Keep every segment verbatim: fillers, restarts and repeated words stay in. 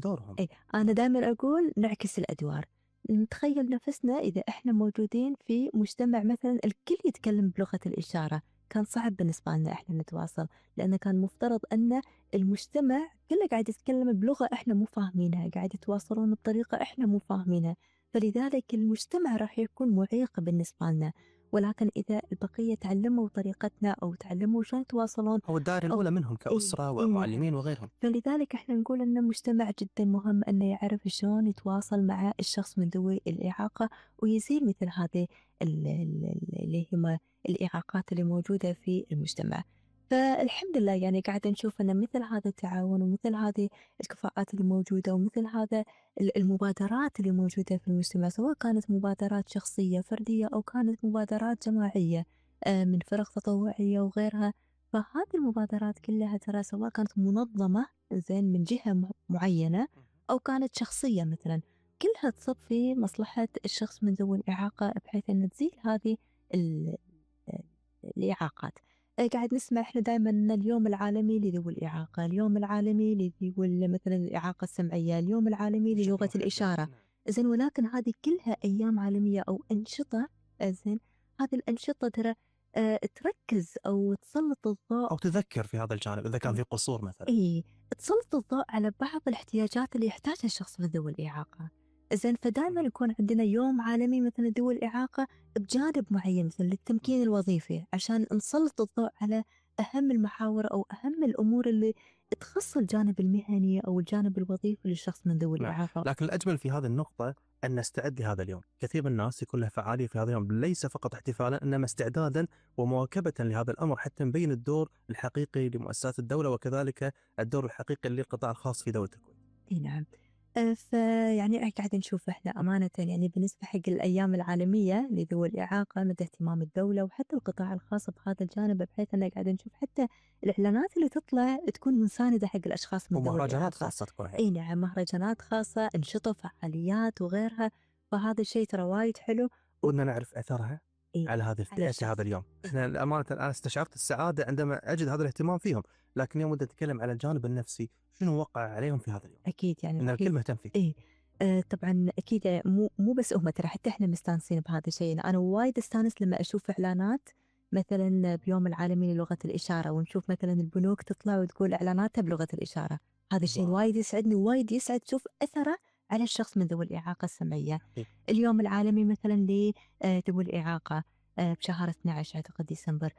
دورهم. إيه أنا دائما أقول نعكس الأدوار. نتخيل نفسنا إذا إحنا موجودين في مجتمع مثلا الكل يتكلم بلغة الإشارة، كان صعب بالنسبة لنا إحنا نتواصل، لأن كان مفترض أن المجتمع كله قاعد يتكلم بلغة إحنا مو فاهمينها، قاعد يتواصلون بطريقة إحنا مو فاهمينها، فلذلك المجتمع راح يكون معيق بالنسبة لنا. ولكن إذا البقية تعلموا طريقتنا أو تعلموا شلون يتواصلون أو الدائرة الأولى منهم كأسرة إيه ومعلمين وغيرهم. فلذلك احنا نقول ان المجتمع جدا مهم انه يعرف شلون يتواصل مع الشخص من ذوي الإعاقة ويزيل مثل هذه اللي هي الإعاقات اللي موجودة في المجتمع. فالحمد لله يعني قاعد نشوف ان مثل هذا التعاون ومثل هذه الكفاءات اللي موجودة ومثل هذا المبادرات اللي موجودة في المجتمع، سواء كانت مبادرات شخصية فردية او كانت مبادرات جماعية من فرق تطوعية وغيرها، فهذه المبادرات كلها ترى سواء كانت منظمة زين من جهة معينة أو كانت شخصية مثلا، كلها تصب في مصلحة الشخص من ذوي الإعاقة بحيث أن تزيل هذه الإعاقات. قاعد نسمع إحنا دائما اليوم العالمي لذوي الإعاقة، اليوم العالمي لذوي مثلا الإعاقة السمعية، اليوم العالمي للغة الإشارة، زين ولكن هذه كلها أيام عالمية أو أنشطة، زين هذه الأنشطة ترى أه تركز أو تسلط الضوء أو تذكر في هذا الجانب إذا كان في قصور مثلا. إيه تسلط الضوء على بعض الاحتياجات اللي يحتاجها الشخص من ذوي الإعاقة. زين فدائما يكون عندنا يوم عالمي مثل ذوي الإعاقة بجانب معين مثل للتمكين الوظيفي، عشان نسلط الضوء على أهم المحاور أو أهم الأمور اللي تخص الجانب المهني أو الجانب الوظيفي للشخص من ذوي الإعاقة. لكن الأجمل في هذه النقطة أن نستعد لهذا اليوم. كثير من الناس يكون له فعالية في هذا اليوم، ليس فقط احتفالا إنما استعدادا ومواكبة لهذا الأمر حتى نبين الدور الحقيقي لمؤسسات الدولة وكذلك الدور الحقيقي للقطاع الخاص في دولة الكويت. اي نعم. فيعني قاعد نشوف احنا أمانة يعني بالنسبة حق الأيام العالمية لذوي الإعاقة مدى اهتمام الدولة وحتى القطاع الخاص بهذا الجانب، بحيث أننا قاعد نشوف حتى الإعلانات اللي تطلع تكون مساندة حق الأشخاص من ذوي الإعاقة. ومهرجانات خاصة تكون اي نعم مهرجانات خاصة، أنشطة فعاليات وغيرها، فهذا الشيء ترى وايد حلو. ودنا نعرف أثرها إيه؟ على هذه الفئة هذا اليوم. احنا الأمانة الآن استشعرت السعادة عندما أجد هذا الاهتمام فيهم، لكن يوم بدنا نتكلم على الجانب النفسي شنو وقع عليهم في هذا اليوم؟ أكيد يعني إن الكل مهتم فيه. إيه آه طبعا أكيد يعني مو مو بس هم، ترى حتى إحنا مستانسين بهذا الشيء. أنا وايد استانس لما أشوف إعلانات مثلا بيوم العالمي للغة الإشارة، ونشوف مثلا البنوك تطلع وتقول إعلاناتها بلغة الإشارة، هذا الشيء وايد يسعدني وايد يسعد شوف أثره على الشخص من ذوي الإعاقة السمعية. إيه؟ اليوم العالمي مثلا لذوي الإعاقة بشهر اثني عشر أعتقد ديسمبر،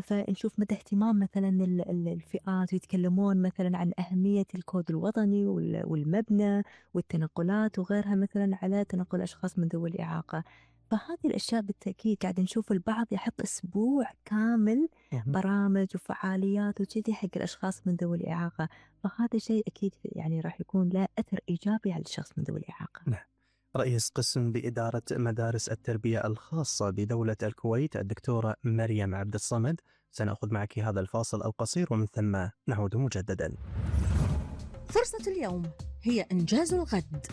فنشوف مدى اهتمام مثلا الفئات ويتكلمون مثلا عن أهمية الكود الوطني والمبنى والتنقلات وغيرها مثلا على تنقل أشخاص من ذوي الإعاقة. فهذه الأشياء بالتأكيد قاعد نشوف البعض يحط أسبوع كامل برامج وفعاليات وكذي حق الأشخاص من ذوي الإعاقة، فهذا شيء أكيد يعني راح يكون له أثر إيجابي على الشخص من ذوي الإعاقة. نعم. رئيس قسم بإدارة مدارس التربية الخاصة بدولة الكويت الدكتورة مريم عبد الصمد، سنأخذ معك هذا الفاصل القصير ومن ثم نعود مجددا. فرصة اليوم هي إنجاز الغد.